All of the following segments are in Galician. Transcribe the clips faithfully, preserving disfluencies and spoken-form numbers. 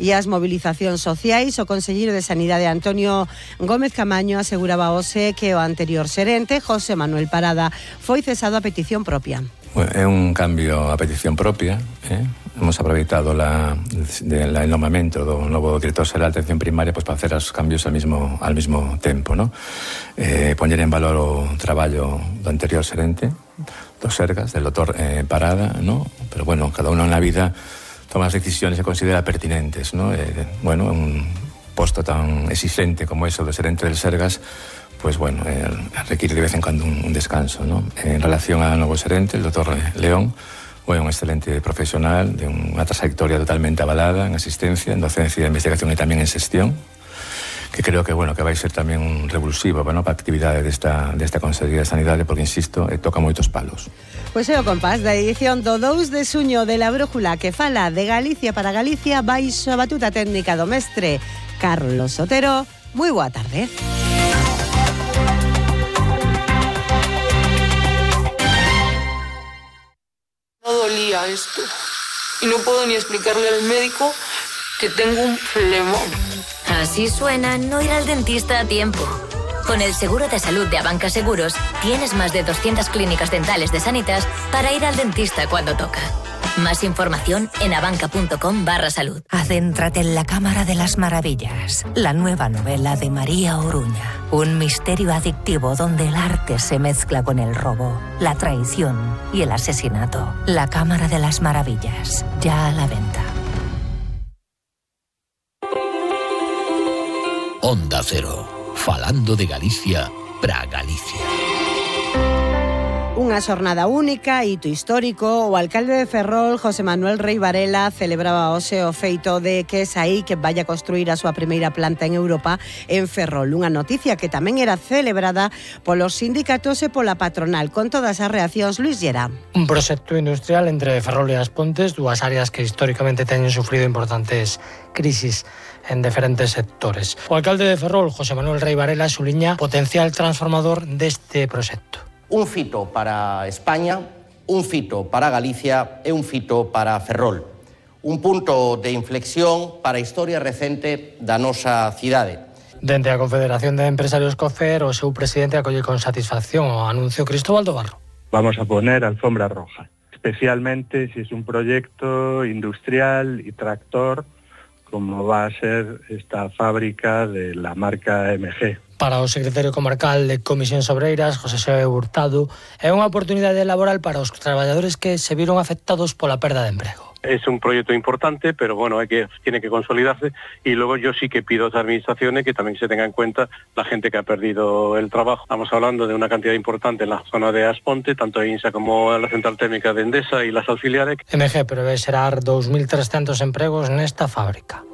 e as mobilizacións sociais. O conselleiro de Sanidade Antonio Gómez Camaño aseguraba hoxe que o anterior xerente, José Manuel Parada, foi cesado a petición propia. Bueno, é un cambio a petición propia, eh? Hemos aproveitado la, de, la, el nombramiento do novo director xeral de atención primaria pues, para hacer os cambios al mismo, al mismo tempo, ¿no? Eh, poñer en valor o traballo do anterior xerente, dos Sergas, del doutor eh, Parada, ¿no? Pero bueno, cada uno en la vida toma as decisións que considera pertinentes, ¿no? Eh, bueno, un posto tan exigente como ese do xerente del Sergas, pues bueno, eh, requiere de vez en cuando un, un descanso, ¿no? En relación ao novo xerente, el doutor León, foi un excelente profesional de unha trayectoria totalmente avalada en asistencia, en docencia e investigación e tamén en xestión, que creo que, bueno, que vai ser tamén un revulsivo, bueno, para a actividade desta, desta Consellería de Sanidade, porque, insisto, eh, toca moitos palos. Pois é o compás da edición do dous de xuño de La Brújula, que fala de Galicia para Galicia, baixo a batuta técnica do mestre Carlos Sotero. Moi boa tarde. No dolía esto y no puedo ni explicarle al médico que tengo un flemón. Así suena no ir al dentista a tiempo. Con el seguro de salud de Abanca Seguros tienes más de doscientas clínicas dentales de Sanitas para ir al dentista cuando toca. Más información en abanca.com barra salud. Adéntrate en la Cámara de las Maravillas, la nueva novela de María Oruña. Un misterio adictivo donde el arte se mezcla con el robo, la traición y el asesinato. La Cámara de las Maravillas, ya a la venta. Onda Cero, falando de Galicia para Galicia. Unha xornada única, hito histórico. O alcalde de Ferrol, José Manuel Rei Varela, celebraba hoxe o feito de que Saí que vai a construir a súa primeira planta en Europa en Ferrol. Unha noticia que tamén era celebrada polos sindicatos e pola patronal. Con todas as reaccións, Luis Llera. Un proxecto industrial entre Ferrol e As Pontes, dúas áreas que históricamente teñen sufrido importantes crisis en diferentes sectores. O alcalde de Ferrol, José Manuel Rei Varela, suliña potencial transformador deste proxecto. Un fito para España, un fito para Galicia e un fito para Ferrol. Un punto de inflexión para a historia recente da nosa cidade. Dende a Confederación de Empresarios COFER, o seu presidente acolle con satisfacción o anuncio Cristóbal do Barro. Vamos a poner alfombra roja, especialmente si es un proyecto industrial y tractor como va a ser esta fábrica de la marca M G. Para o secretario comarcal de Comisións Obreiras, José Xosé Hurtado, é unha oportunidade laboral para os traballadores que se viron afectados pola perda de emprego. Es un proyecto importante, pero bueno, hay que, tiene que consolidarse, y luego yo sí que pido a las administraciones que también se tenga en cuenta la gente que ha perdido el trabajo. Estamos hablando de una cantidad importante en la zona de As Pontes, tanto en INSA como en la central térmica de Endesa y las auxiliares. M G prevé xerar dous mil trescentos empregos nesta fábrica.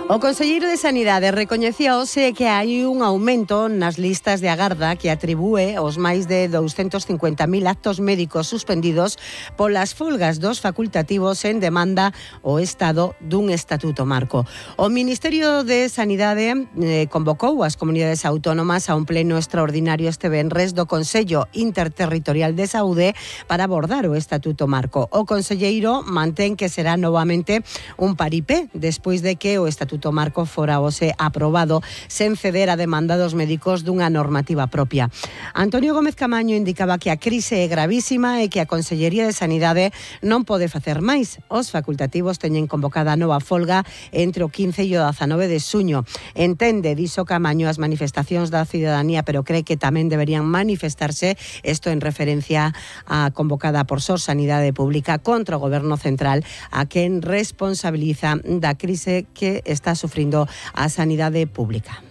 O conselleiro de Sanidade recoñecía hoxe que hai un aumento nas listas de agarda que atribúe os máis de douscentos cincuenta mil actos médicos suspendidos polas folgas dos facultativos en demanda ao Estado dun estatuto marco. O Ministerio de Sanidade eh, convocou as comunidades autónomas a un pleno extraordinario este venres do Consello Interterritorial de Saúde para abordar o estatuto marco. O conselleiro mantén que será novamente un paripé despois de que o estatuto marco fora hoxe aprobado sen ceder a demanda dos médicos dunha normativa propia. Antonio Gómez Camaño indicaba que a crise é gravísima e que a Consellería de Sanidade non pode facer máis. Os facultativos teñen convocada a nova folga entre o quince e o dezanove de xuño. Entende, dixo Camaño, as manifestacións da cidadanía, pero cree que tamén deberían manifestarse, isto en referencia a convocada por Sor Sanidade Pública contra o Goberno Central, a quen responsabiliza da crise que está sufrindo a sanidade pública.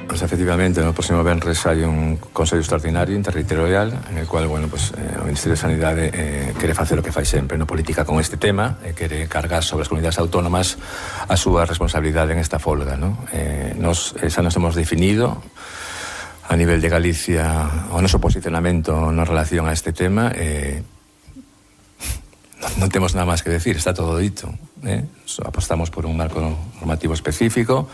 Pues efectivamente, no próximo venres hai un Consello Extraordinario Interterritorial en el cual, bueno, pues eh, o Ministerio de Sanidade eh, quere facer o que fai sempre, no política con este tema, eh, quere cargar sobre as comunidades autónomas a súa responsabilidade en esta folga, ¿no? Eh, nos, xa nos hemos definido a nivel de Galicia o noso posicionamento na relación a este tema. eh, Non temos nada máis que decir, está todo dito, eh? Apostamos por un marco normativo específico.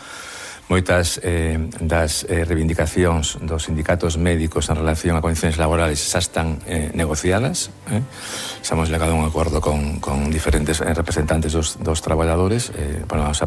Moitas eh, das eh, reivindicacións dos sindicatos médicos en relación a condicións laborales xa están eh, negociadas, eh? Xa hemos llegado a un acordo con, con diferentes eh, representantes dos, dos traballadores, eh, para a nosa parte.